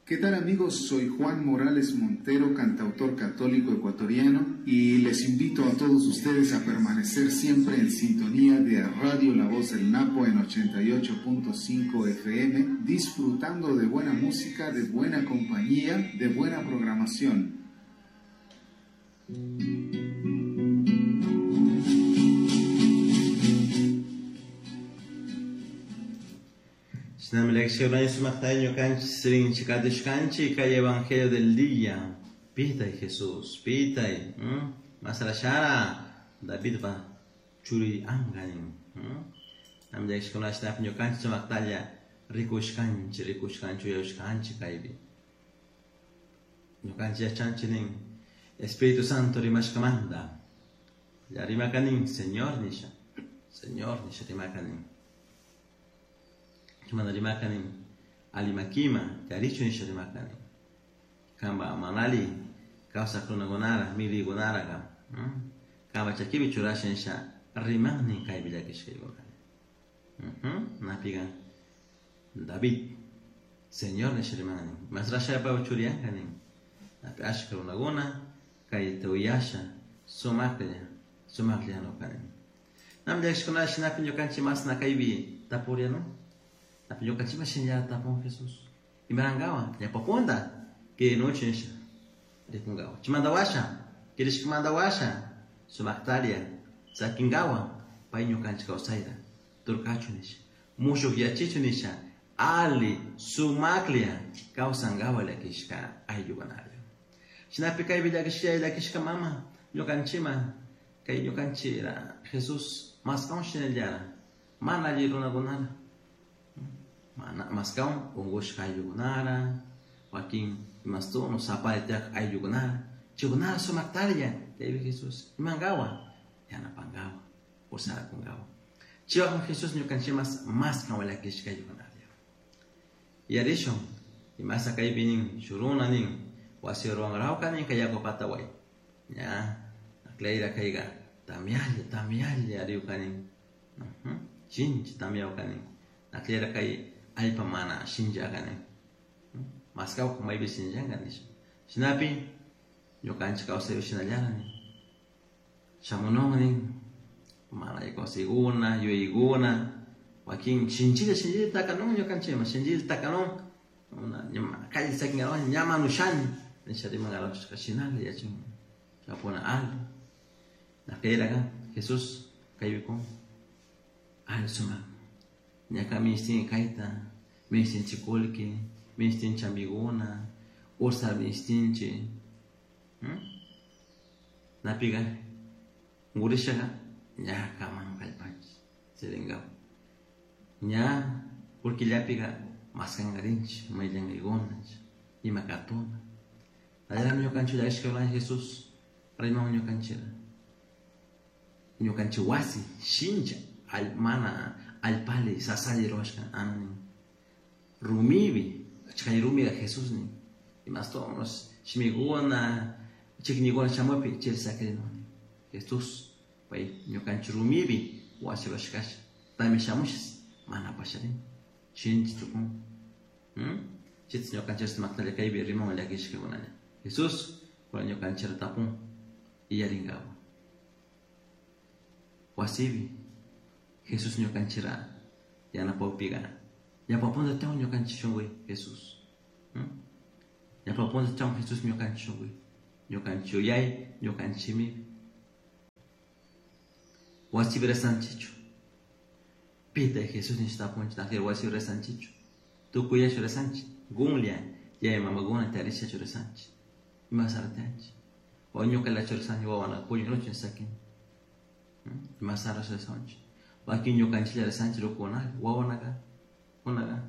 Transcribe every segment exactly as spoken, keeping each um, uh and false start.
¿Qué tal amigos? Soy Juan Morales Montero, cantautor católico ecuatoriano, y les invito a todos ustedes a permanecer siempre en sintonía de Radio La Voz del Napo en ochenta y ocho punto cinco F M, disfrutando de buena música, de buena compañía, de buena programación. Kay Evangelio del día. Pitay Jesús, pitay. Masarashara David va churi anganin. Namllakshkunashnapi rikushkanchi, rikushkanchi, uyashkanchi kaypi. Ñukanchik yachanchik nin Espíritu Santo rimashkamanta. Ya rimakanin Señor nisha. Señor nisha rimakanin. Mana rimakanin alimakima yarichu nisha rimakanin. Kamba manali kawsak runakunara milikunara kam. Kamba chakipi churasha nisha rimannin kaypi llakishkaykunani. Napiga David Señor nisha rimannin. Masrashaypa churiyankanin. Napi ashka runakuna kayta uyasha sumaklla sumaklla nukanin. Nam llakishkunara shinapi ñukanchik masna kaypi tapuriano. Napi ñukanchik mashinlla tapun Jesús. Imarangawa ñapapunda kirinuchi nisha rikungawa. Chimandawasha kirishkamandawasha sumaktaria sakingawa pay ñukanchik kawsayta turkachu nisha mushuq yachichu nisha ali sumaklla kawsangawa llakishka ayllukunalla. Shinapi kaypi llakishka llakishka mama ñukanchikman kay ñukanchikra Jesús maskawan shinallara mana alli runakunara mana maskawan unqushqa ayllukunara wakin imastuno sapari tiyaq ayllukunara chaykunara sumaktarlla chaypi Jesús imankawa yanapankawa usarakunkawa chaywan Jesús ñukanchikmas maskan llakishka ayllukunalla. Yarishun imasa kaypi nin shuruna nin wasi ruwanrawka nin kay yaku pataway ña aklayra kayqa tamyalla tamyalla riwkanin shinchi tamyawkanin aklayra kay allpa mana shinchakanin maskawka maypi shinchanka nisha shinapi ñukanchik kawsaypi shinallara nin shamunun nin mana kawsaykuna yuyaykuna wakin shinchilla shinchilla takanun ñukanchikman shinchilla takanun calle sakingawan ñama nushani nisha rimangarawashka shinalla yachin chapuna ali nakayraqa Jesús kaybikun ali sumak ñaka minishtin kayta minishtinchik kullki minishtinchik amiguna ursar minishtinchik napiqa unqurishaqa ñaka mana kallpanchik sirinkawa ña kullkillapiqa maskankarinchik mayllankakuna ima katuna nallarami ñukanchik llakishka Jesús rimawan ñukanchikra ñukanchik wasi shincha mana allpali sasalli ruwashka nin rumipi chay rumiqa Jesús nin imastonos shimikuna chiknikuna shamupi chayta sakirinun Jesús pay ñukanchik rumipi wasi ruwashkasha tamya shamushas mana pasharin shinchi tukun chayta ñukanchik sumaktalla kaypi rimawan llakishkakunalla Jesús kuna ñukanchikta tapun iyarinkawa wasipi Jesús ñukanchikra yanapawpiqa ñawpapunta tiyan ñukanchik shunkuy Jesús ñawpapunta tiyan Jesús ñukanchik shunkuy ñukanchik yuyay ñukanchikmi wasipi rezanchikchu pitay Jesús nisha tapunchik nakir wasipi rezanchikchu tukuyachu rezanchik qunlla yaya mamakuna tarishachu rezanchik imasara tiyanchik o ñukallachu rezanchik wawana puñunuchu sakin imasara rezanchik wakin ñukanchiklla rezanchik rukukunalla wawanaka kunaqa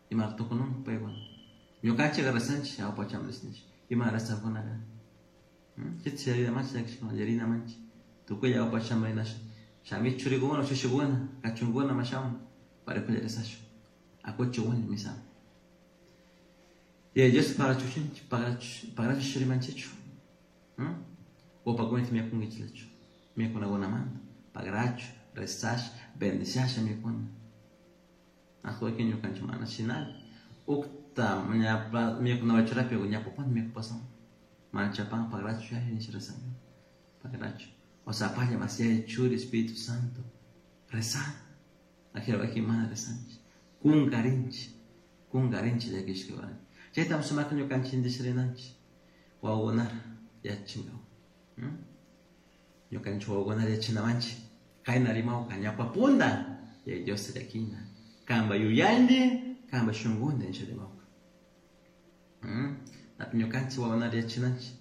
imara tukunun paykuna ñukanchikqa rezanchik ñawpachaman rezanchik ima rezaqkunaqa chayta yarinamanchik llakishkuna yarinamanchik tukuylla ñawpachaman rinasha shami churikuna shushikuna kachunkuna mashamun parikulla rezashun akuchi wani misama Yaya Dios pagarachuchinchik pagarachu rimanchikchu upakunata mikunkichiklachu mikunakunamanta pagarachu rezasha bendiciasha mikuna wakin ñukanchik mana shinalla Ukta mikuna churapi ñapapun mikupasan. Mana chapan pagrachu yaya nisha rezan. Pagrachu. O sea, paya mas yaya churi Espíritu Santo. Rezan. Ajero aquí mana rezanchi. Kungarinchi. Kungarinchi llakishka warani. Chaytam sumakta ñukanchik indisharinanchik. Wawakunara yachinkawa. Ñukanchik wawakunara yachinamanchik. Kayna rimawka ñawpapunda yaya Diosta llakina. Kanpa yuyayndi, kanpa shunkunta nisha rimawka. Napi ñukanchik wawakunara yachinanchik.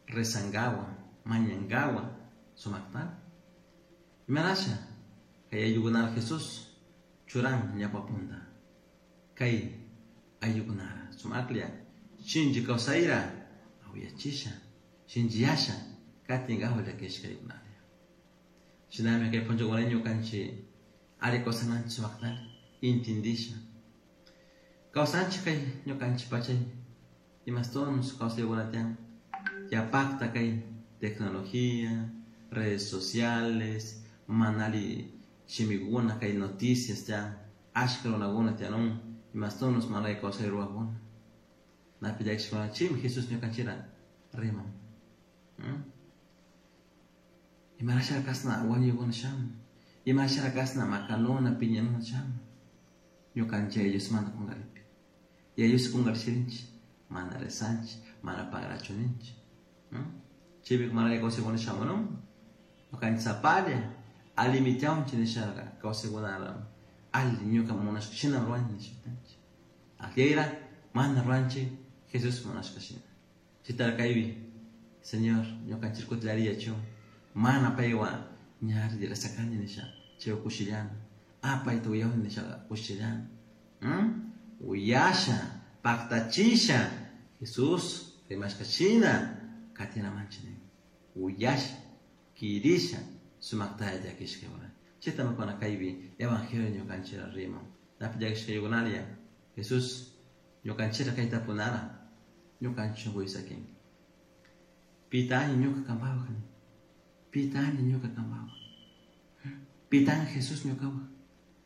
Rezankawa, mañankawa, sumakta. Imanasha kay ayllukunara Jesús churan ñawpapunda. Kay ayllukunara sumaklla shinchi kawsayra awiyachisha shinchiyasha katinkawa llakishkaykunalla. Shinami kay punchakuna ñukanchik alli kawsananchik sumaktalla intindisha. Kawsanchik kay ñukanchik pachay imastonus kawsaykuna tiyan yapakta kay tecnología, redes sociales, mana alli shimikuna kay noticias tiyan ashka runakuna tiyanun imastonus mana alli kawsay rurakuna. Napi llakishkuna chaymi Jesús ñukanchikra riman. Imarashara kasna wañuykuna shamun, imarashara kasna makanuna piñanuna shamun. Ñukanchik Yaya Diosmanta kunkaripi. Yaya Dios kunkarishirinchik, mana rezanchik, mana pagrachu ninchik. Chaypi mana alli kawsaykuna shamunun. Ñukanchik sapalla allimi tiyanchik nishaqa kawsaykunara alli ñuka munashka shina ruranchik nishatanchik. Akllayra mana ruranchik Jesús munashka shina. Chaytara kaypi Señor ñukanchik kutilariyachu mana paywan ñari rezakani nisha chay kushillana. Ah, payta uyawani nisha kushillana. Uyasha, paktachisha Jesús rimashka shina katinamanchik nin. Uyasha, kirisha sumaktalla llakishka warani. Chaytami kuna kaypi evangelio ñukanchikra riman. Napi llakishka ayukunalla Jesús ñukanchikra kayta tapunara ñukanchik shunkuy sakin. Pitani ñuka kanpawaq nin. Pitani ñuka kanpawaq. Pitan Jesús ñukawaq.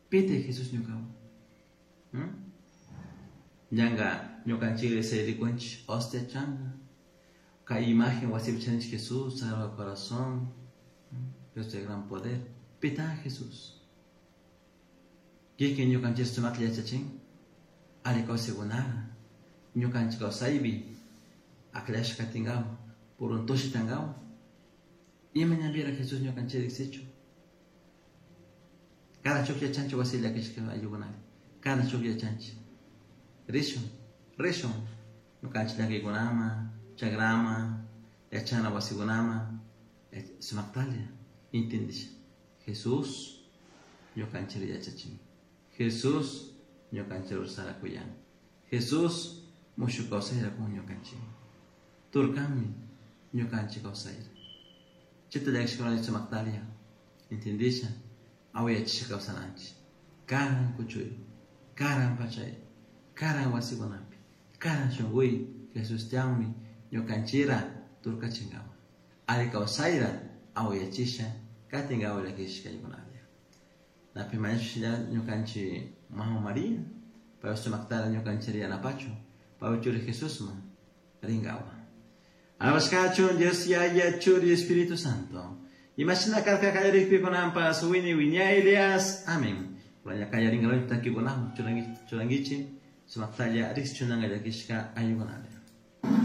Pitay Jesús ñukawaq. Ñanka ñukanchik rikunchik hostia changa. Kay imagen wasipi charinchik Jesús, Sagrado Corazón, Dios de gran poder. Pitan Jesús. Kikin ñukanchik sumakta yachachin. Alli kawsaykunara. Ñukanchik kawsaypi aklashka katinkawa, purun tushitankawa. Ima ñanpira Jesús ñukanchik riksichu. Cada shuk yachanchik wasi llakishka ayllukunari. Cada shuk yachanchik. Rishun, rishun. Ñukanchik llankaykunaman, chakraman, yachana wasikunaman, sumaktalla intindisha. Jesús ñukanchik yachachin. Jesús ñukanchik rursarakuyan. Jesús mushuk kawsayra kun ñukanchik. Turkanmi ñukanchik kawsayra. Chayta llakishkakunalla sumaktalla intindisha awiyachisha kawsananchik. Karan kuchuy, karan pachay, karan wasikunapi, karan shunkuy Jesús tiyanmi ñukanchikra turkachinkawa. Alli kawsayra awiyachisha katinkawa llakishka ayukunalla. Napi mañashpa ñukanchik Mama María, pay sumaktalla ñukanchik yanapachu, pay churi Jesusman rinkawa. Alabashkachun Dios Yaya Churi Espíritu Santo. Imashina karka kallarikpi kunanpas wini wiñaylias. Amén. Kunalla kallarinkawanchik takikunawan churankichik sumaktalla riqsichunanka llakishka ayukunalla.